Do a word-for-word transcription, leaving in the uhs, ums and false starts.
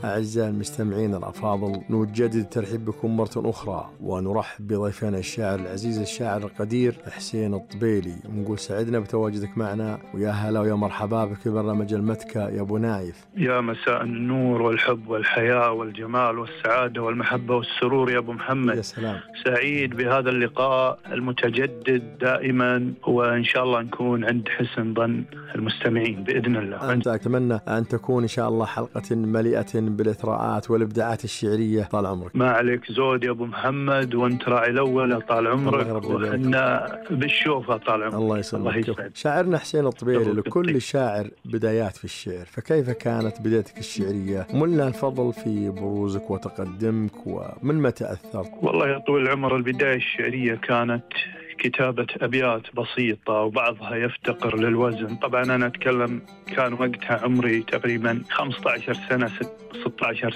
أعزائي المستمعين الأفاضل، نجدد الترحيب بكم مرة أخرى ونرحب بضيفنا الشاعر العزيز الشاعر القدير حسين الطبيلي، ونقول سعدنا بتواجدك معنا، ويا هلا ويا مرحبا بك في برنامج المتكة يا أبو نايف. يا مساء النور والحب والحياة والجمال والسعادة والمحبة والسرور يا أبو محمد. يا سلام، سعيد بهذا اللقاء المتجدد دائما، وإن شاء الله نكون عند حسن ظن المستمعين بإذن الله. أنت أتمنى أن تكون إن شاء الله حلقة مليئة بالإثراءات والإبداعات الشعرية طال عمرك. ما عليك زود يا أبو محمد، وأنت راعي الأول طال عمرك، وإحنا بالشوفة طال عمرك. الله يسلمك. شاعرنا حسين الطبيلي، لكل شاعر بدايات في الشعر، فكيف كانت بدايتك الشعرية؟ من لها الفضل في بروزك وتقدمك، ومن متى أثرت؟ والله يا طويل العمر، البداية الشعرية كانت كتابة أبيات بسيطة وبعضها يفتقر للوزن. طبعا أنا أتكلم كان وقتها عمري تقريبا خمسة عشر سنة ستة عشر